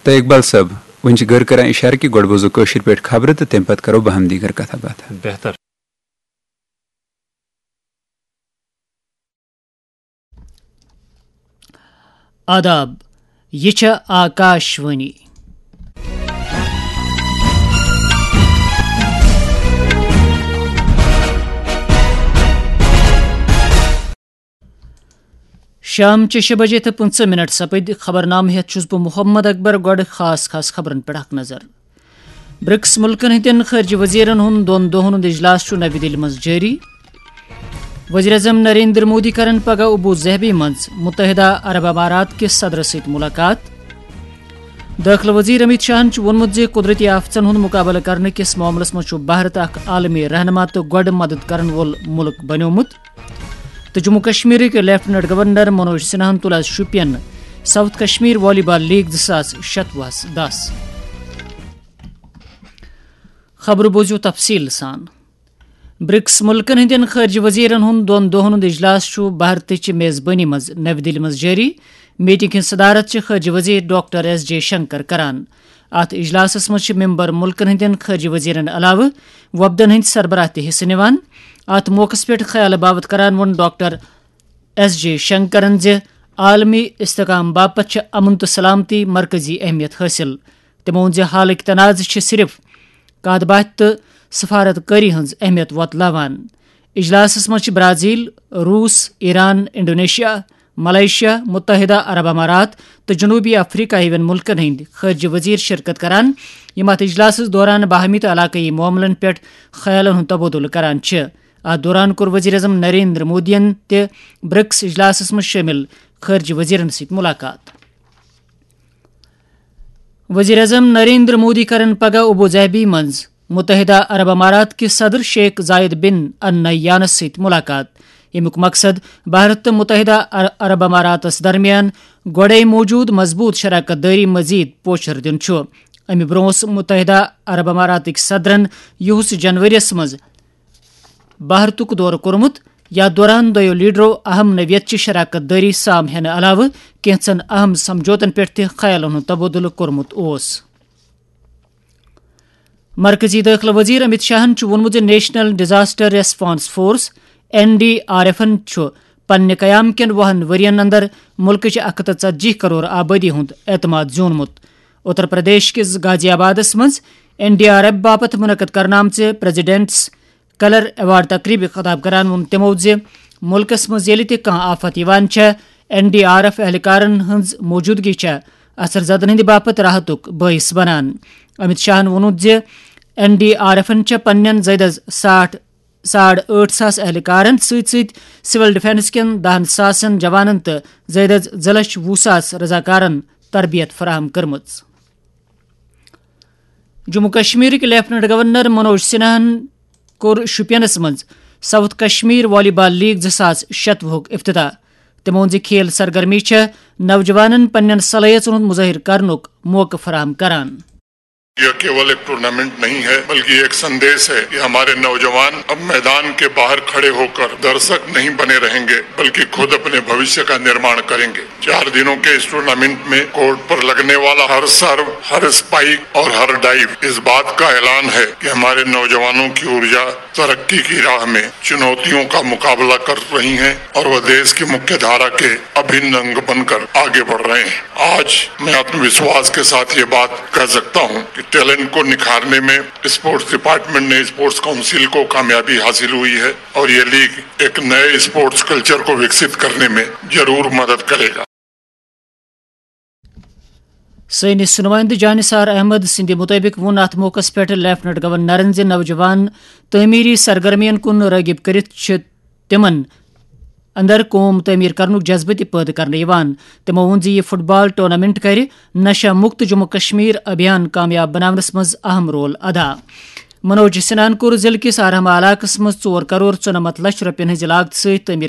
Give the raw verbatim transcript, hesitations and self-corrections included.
تہٕ اقبال صٲب، وۄنۍ چھِ گٔر کران اِشارٕ کہِ گۄڈٕ بوزو کٲشِر پٲٹھۍ خبرٕ تہٕ تَمہِ پتہٕ کرو باہم دیٖگر کتھا باتھا۔ بہتر۔ آداب، یہِ چھےٚ آکاش وانی۔ شام چہِ شےٚ بجے تہٕ پٕنٛژٕہ منٹ سپٕدۍ۔ خبرنامہٕ ہیتھ چھُس بہٕ محمد اکبر۔ گۄڈٕ خاص خاص خبرن پٮ۪ٹھ اکھ نظر۔ برکس ملکن ہٕنٛدٮ۪ن خارجہ وزیرن ہُنٛد دۄن دۄہن ہُنٛد اجلاس چھُ نوِ دِلہِ منٛز جٲری۔ وزیر اعظم نریندر مودی کرن پگاہ ابو ظہبی منٛز متحدہ عرب امارات کِس صدرس سۭتۍ ملاقات۔ دٲخلہٕ وزیر امیت شاہن چھُ ووٚنمُت زِ قدرتی آفتن ہُنٛد مقابلہٕ کرنہٕ کِس معاملس منٛز چھُ بھارت اکھ عالمی رہنما تہٕ گۄڈٕ مدد کرن وول مُلک بنیومُت۔ تہٕ جموں کشمیرٕکۍ لیفٹیننٹ گورنر منوج سنہاہن تُل آز شوپین ساؤتھ کشمیر والی بال لیگ زٕ ساس شتوُہس دس۔ خبرٕ بوزِو تفصیل سان۔ برکس ملکن ہٕنٛدٮ۪ن خارجہ وزیرن ہُنٛد دۄن دۄہن ہُنٛد اجلاس چھُ بھارتٕچ میزبٲنی منٛز نوِ دِلہِ منٛز جٲری۔ میٹنگ ہٕنٛز صدارت چھِ خارجہ وزیر ڈاکٹر ایس جے شنکر کران۔ اتھ اجلاسس منٛز چھِ ممبر ملکن ہٕنٛدٮ۪ن خارجہ وزیرن علاوٕ وفدن ہٕنٛدۍ سربراہ تہِ حصہٕ نِوان۔ اتھ موقعس پٮ۪ٹھ خیال باوت کران ووٚن ڈاکٹر ایس جے شنکرن زِ عالمی استحکام باپتھ چھِ امن تہٕ سلامتی مرکزی اہمیت حٲصِل۔ تِمو ووٚن زِ حالٕکۍ تنازٕ چھِ صرف کتھ باتھِ تہٕ سفارت کٲری ہٕنٛز اہمیت وۄتلاوان۔ اجلاسس منٛز چھِ برازیل، روس، ایران، انڈونیشیا، ملائیشیا، متحدہ عرب امارات تہٕ جنوبی افریقہ ہِوٮ۪ن ملکن ہٕنٛدۍ خارجہ وزیر شرکت کران، یِم اتھ اجلاسس دوران باہمی تہٕ علاقٲیی معاملن پٮ۪ٹھ خیالن ہُنٛد تبادلہٕ کران چھِ۔ اتھ دوران کوٚر وزیر اعظم نریندر مودیَن تہِ برکس اجلاسس منٛز شٲمِل خارجہ وزیرن سۭتۍ ملاقات۔ وزیر اعظم نریندر مودی کرن پگاہ ابو ظہبی منٛز متحدہ عرب امارات کِس صدر شیخ زاید بن النہیانس سۭتۍ ملاقات، ییٚمیُک مقصد بھارت تہٕ متحدہ عر-، عرب اماراتس درمیان گۄڈے موجود مضبوط شراکت دٲری مزید پوچھر دیُن چھُ۔ امہِ برونٛہہ اوس متحدہ عرب اماراتٕکۍ صدرن یِہُس جنوریَس منٛز بھارتُک دورٕ کوٚرمُت، یتھ دوران دۄیو لیڈرو اہم نوعیت چہِ شراکت دٲری سام ہینہٕ علاوٕ کینٛژن اہم سمجھوتن پٮ۪ٹھ تہِ خیالن ہُنٛد تبادلہٕ کوٚرمُت اوس۔ مرکزی دٲخلہٕ وزیر امیت شاہن چھُ ووٚنمُت زِ national disaster response force, N D R ایفن، چھُ پننہِ قیام کٮ۪ن وُہن ؤرین اندر مُلکٕچ اکھ ہتھ ژتجی کرور آبٲدی ہُنٛد اعتماد زیوٗنمُت۔ اتر پردیش کِس غازی آبادس منٛز این ڈی آر ایف باپتھ منعقد کرنہٕ آمژِ پریزیڈنٹس کلر ایوارڈ تقریبہِ خطاب کران ووٚن تِمو زِ مُلکس منٛز ییٚلہِ تہِ کانٛہہ آفت یِوان چھےٚ، این ڈی آر ایف اہلکارن ہٕنٛز موجودگی چھےٚ اثر زدن ہٕنٛدِ باپتھ راحتُک بٲعث بنان۔ امیت شاہن ووٚنُن زِ این ڈی آر ایفن چھےٚ پننٮ۪ن زٲیدٕ ساٹھ، ساڑ ٲٹھ ساس اہلکارن سۭتۍ سۭتۍ سول ڈیفنس کٮ۪ن دہن ساسن جوانن تہٕ زٲیدٕ زٕ لچھ وُہ ساس رضاکارن تربیت فراہم کٔرمٕژ۔ جموں کشمیرٕکۍ لیفٹیننٹ گورنر منوج سنہاہن کوٚر شوپینس منٛز ساؤتھ کشمیر والی بال لیگ زٕ ساس شتوُہُک افتتاح۔ تٔمۍ ووٚن زِ کھیل سرگرمی چھےٚ نوجوانن پننٮ۪ن صلٲحیژن ہُنٛد مظٲہرٕ کرنُک موقعہٕ فراہم کران۔ یہ کیول ایک ٹورنامنٹ نہیں ہے، بلکہ یہ ایک سندیش ہے کہ ہمارے نوجوان اب میدان کے باہر کھڑے ہو کر درشک نہیں بنے رہیں گے، بلکہ خود اپنے بھوشیہ کا نرماݨ کریں گے۔ چار دنوں کے اس ٹورنامنٹ میں کورٹ پر لگنے والا ہر سرو، ہر اسپائک اور ہر ڈائیو اس بات کا اعلان ہے کہ ہمارے نوجوانوں کی ارجا ترقی کی راہ میں چنوتیوں کا مقابلہ کر رہی ہیں اور وہ دیش کی مکھیہ دھارا کے ابھن انگ بن کر آگے بڑھ رہے ہیں۔ آج میں آتم وشواس کے ساتھ یہ بات کہہ سکتا ہوں کہ ٹیلنٹ کو نکھارنے میں اسپورٹس ڈپارٹمنٹ نے، اسپورٹس کونسل کو کامیابی حاصل ہوئی ہے اور یہ لیگ ایک نئے اسپورٹس کلچر کو وکست کرنے میں ضرور مدد کرے گا۔ سٲنِس نُمٲیِندٕ جانثار احمد سٕنٛدِ مُطٲبِق ووٚن اَتھ موقعَس پٮ۪ٹھ لیفٹیننٹ گورنرَن زِ نوجوان تعمیٖری سرگرمیَن کُن رٲغِب کٔرِتھ چھِ تِمَن اندر قوم تعمیٖر کرنُک جذبہٕ تہِ پٲدٕ کرنہٕ یِوان۔ تِمَو ووٚن زِ یہِ فٹ بال ٹورنامنٹ کرِ نشہ مکت جموں کشمیر ابھیان کامیاب بناونَس منٛز اہم رول ادا۔ منوج سنہاہَن کوٚر ضلعہٕ کِس آرہما علاقَس منٛز ژور کرور ژُنَمَتھ لچھ رۄپیَن ہٕنٛزِ لاگتہٕ سۭتۍ تعمیٖر